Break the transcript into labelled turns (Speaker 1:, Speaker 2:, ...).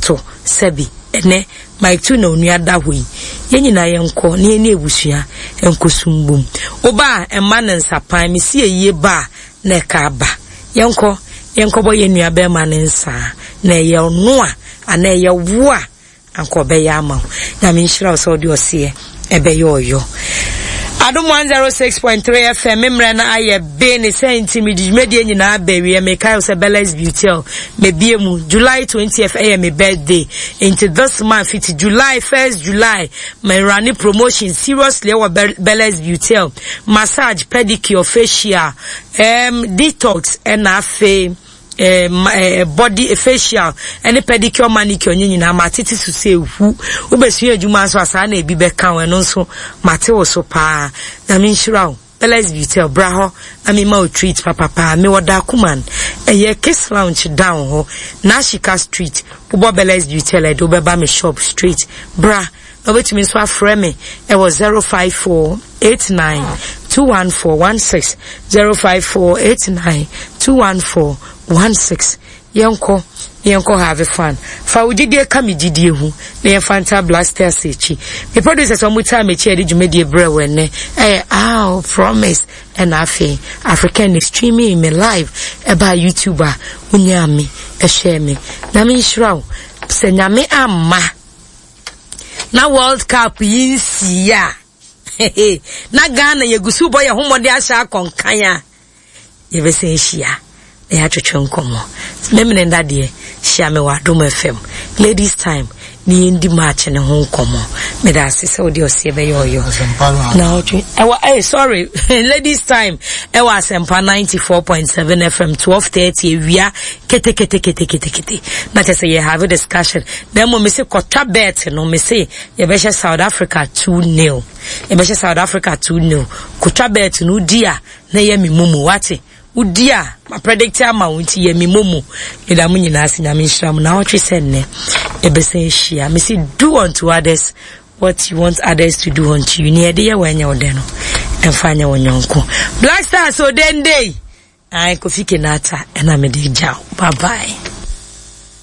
Speaker 1: ato sɛbi ɛnɛ Mike Tu na onua da hɔ yi. Yɛn nyinaa yɛnkɔ na yɛne abusua nkɔsu mbom. Woba a mma no nsapan, mesi ayie ba a na ɛka aba. Yɛnkɔ na yɛnkɔbɔ yɛn nua bɛrima no nsaa na ɛyɛ ɔno a anaa ɛyɛ wo a anka ɔbɛyɛ ama wo. Nyame nhyira wo sɛ wode ɔseɛ ɛbɛyɛ ɔyɔ. Adom 106.3 FM me mmerɛ no ayɛ be ne sɛ nti mede dwumadie nyinaa bɛwieɛ. Mekae wo sɛ Bella's Beautel mebie mu July 20th ɛyɛ me birthday nti this month fiti July 1st July me run promotion seriously ɛwɔ Bella's Beautel massage, pedicure, facial, um, detox ɛna afei eh, body facial ɛne pedicure manicure nye nyinaa matete so sɛ ehu wobɛsua adwuma nso a saa na ebi bɛka wo ɛno nso mate wo so paa nyame nhyira wo Palace Beauty bra hɔ na mema wo treat papapaa mewɔ Dakuman ɛyɛ Kiss Lounge down hɔ Nashika Street wobɔ Palace Beauty ɛde wobɛba me shop straight bra na wobɛtumi nso afrɛ me ɛwɔ 054 89 21416 054 89 21416 yɛnkɔ na yɛnkɔ have fun fa wo gyidie ka me gyidie ho na yɛmfa nta blasters akyi me producers wɔn taa m'akyi a yɛde dwumadie brɛ wɔ ɛnɛ ɛyɛ aw promise ɛna afei African ne streaming me live ɛbaa YouTube a wonyaa me ɛhwɛɛ me nyame nhyira wo sɛ nyame amma na World Cup yi nsii a na Ghana yɛgu so bɔ yɛn ho mmɔden ahyɛ akɔnkan a yɛbɛsan ahyia na yɛatwetwe nkɔmmɔ. Memene nda deɛ hyia me wɔ Adom FM Ladies Time ne yɛndi match ne ho nkɔmmɔ. Meda ase sɛ wode ɔseɛ bɛyɛ ɔyɔ. Na ɔtwe ɛwɔ eh sorry Ladies Time ɛwɔ Asɛmpa 94.7 FM 12:30 awia kete kete kete kete kete na kyɛ sɛ yɛ have discussion na mmom mese kɔtwa bet no mese yɛbɛhyɛ South Africa 2 nil yɛbɛhyɛ South Africa 2 nil kɔtwa bet no wodi a na yɛ me momo wate wodi a ma predict ama wo nti yɛ me momo meda mo nyinaa ase nyame nhyira mo na ɔtwe sɛ nnɛ yɛbɛsan ahyia mese do unto others what you want others to do unto you nea yɛde yɛ wɔ ɛnyɛ wo dɛ no ɛmfa nyɛ wo nyɔnko Black Stars odende Ae Kofi Kenata ɛna mede gya wo. Bye bye.